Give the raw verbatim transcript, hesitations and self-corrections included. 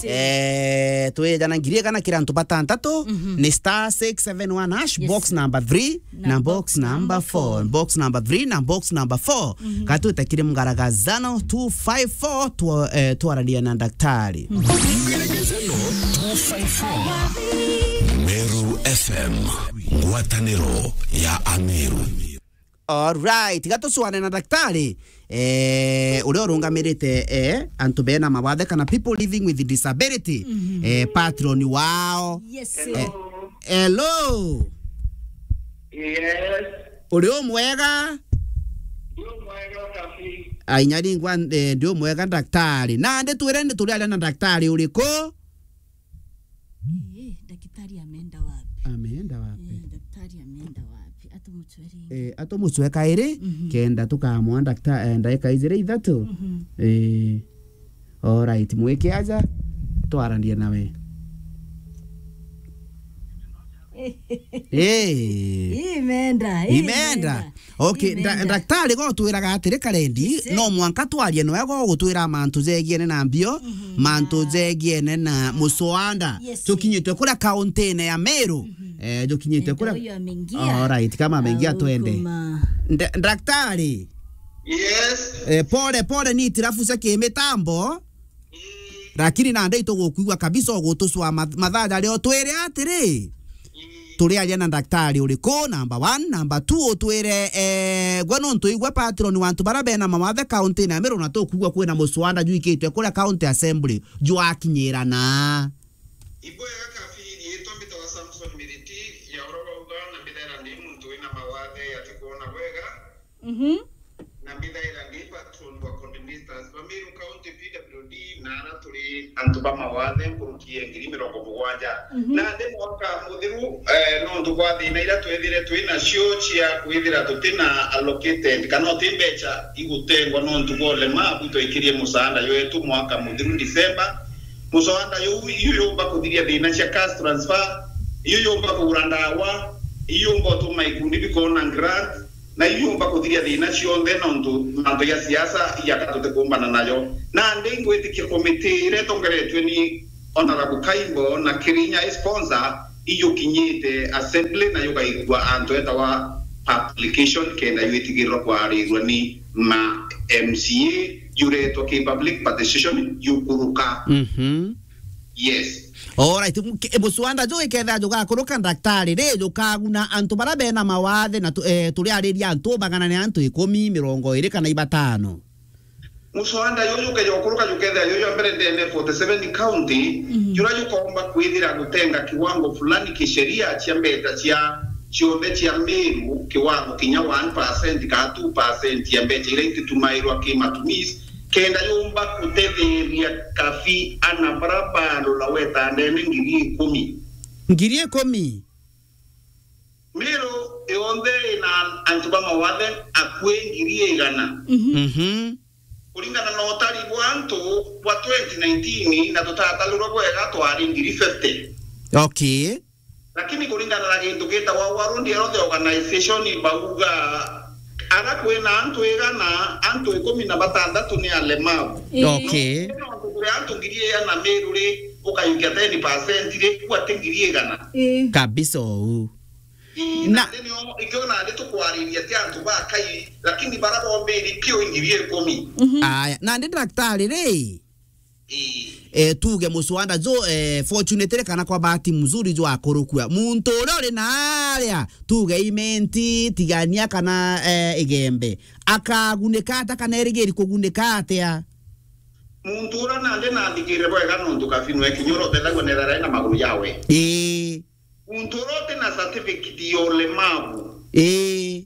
Eh, twejana ngiri igana kira antu batantatu, ni star six seven one hash, box number three na box number four. Box number three na box number four. Gatwite kiri mgaragazano two five four, twa-, eh, twarania na daktari. Mgaragazano two five four. Meru F M, ngwataniro ya Ameru. Alright, gatucwane na daktari, eh, uria urungamirite, eh, antu bena mawathe kana people living with disability, eh, patron wao. Yes. Eh, hello. Yes. Uri umwega? Ndi umwega, Kabi. Ai, nyari ngwa, eh, ndi umwega, daktari. Nandi twire ni turi aria na daktari uriku? Eh, daktari ameenda wapi? Ameenda wapi? Eh, daktari ameenda wapi? Atumucwe ringi. Eh, atumucwe kairi, kenda tukamwa dakta-, eh, ndaika ijiri ithatu. Eh, alright, mwike aja, twaranie nawe. Eh. Imeenda, imeenda. Okay, nda-, daktari go twiraga atiri, Karendi, no mwanka twarie noe go gutwira mantu jegiene na mbio, mantu jegiene na muswanda. Yes. Jukinyite kuria kauntine ya Meru. Eh, jukinyite kuria. Alright, kama ameingia, twende. Nda-, daktari. Yes. Eh, pole, pole, ni itirafu cia kimitambo. Lakini nandi itugukwigua kabisa, ugutucwa math-, mathaa jaria, utwire atiri, turi aria na daktari uriku, number one, number two, utwire, eh, gwe nontu igwe patron wa antu baria bena mawathe kauntine ya Meru, na tukwigua kwina muswanda jwikitwe kuria county assembly, jwakinyira na. Ibwega, Kabi, riitwa mbitawa Samson Miriti, ya uria wauga, na mbithaira ndi muntu wina mawathe atikwona bwega. Mhm. Na mbithaira ndi patron wa coordinators ba Meru County P W D, na ara turi antu ba mawathe nkuruki ya ngiri mirongo mugwanja. Mhm. Na ndi mwaka muthiru, eh, nontu bwa thina iria twethire twi nacio cia kwithira tutina allocated, kana uti mbeca igutengwa nontu bwa ulemavu, twaikirie musaanda jwetu mwaka muthiru December. Musaanda juu, iu yumba kuthiria thina cia cash transfer, iu yumba kugura ndawa, iu yumba utuma ikundi bikona grant, na iu yumba kuthiria thina cionthe, nontu mantu ja siasa ijaka tutikumbana najo. Nandi ngwitikia komiti iria itongeretue ni Honorable Kaimbo na Kirinya i sponsor, ijukinyite assembly na jugaikua antu etawa publication, kenda jwitigirirwa kwarirua ni ma M C A, juretwa ki public participation, jukuruka. Mhm. Yes. Alright, mu-, ke-, muswanda ju ikethira jugakuruka, daktari, ri, jukaguna antu baria bena mawathe na tu-, eh, turiariria antu magana ni antu ikumi, mirongo iri kana ibatano? Muswanda juju jukeja gukuruka jukethira juju jwa mbere ndene forty-seven county, mhm, juria jukomba kwithira gutenga kiwango fulani kisheria cia mbeca cia cionthe cia Meru, kiwango kinya one percent kana two percent ya mbeca iria ititumairwa ki matumizi, kenda yumba kutetheria Kabi ana bara barura weta ndene ngiri ikumi. Ngiri ikumi? Meru yonthe ina antu ba mawathe akui ngiri igana. Mhm. Mhm. Kuringana na utari bwa antu bwa twenty nineteen, na tutatarurwa bwega, twari ngiri fifty. Okay. Lakini kuringana na gintu gitagwa World Health Organization, bauga ara kwina antu igana, antu ikumi na batantatu ni alemavu. Ii. Okay. No, no, antu ngiri igana Meru ri, ukayukia ten percent ri, kuwa ti ngiri igana. Ii. Kabisa uu. Ii, na nandi nio, ikio nandi tukwariria ti antu bakai, lakini bara bombiri piu ngiri ikumi. Mhm. Aya, nandi daktari ri, ii, eh, tuge muswanda jo, eh, fortunately kana kwa bahati mzuri jo akurukua. Muntu uria uri na aria, tuge Imenti, Tigania kana, eh, Igembe, akagunika ata kana erigiri kugunika atia? Muntu uria nandi nathikire bwega nontu Kabi nwe kinya uria utethagua nethera ena maguru jawe. Ii. Muntu uria uti na certificate ya ulemavu. Ii.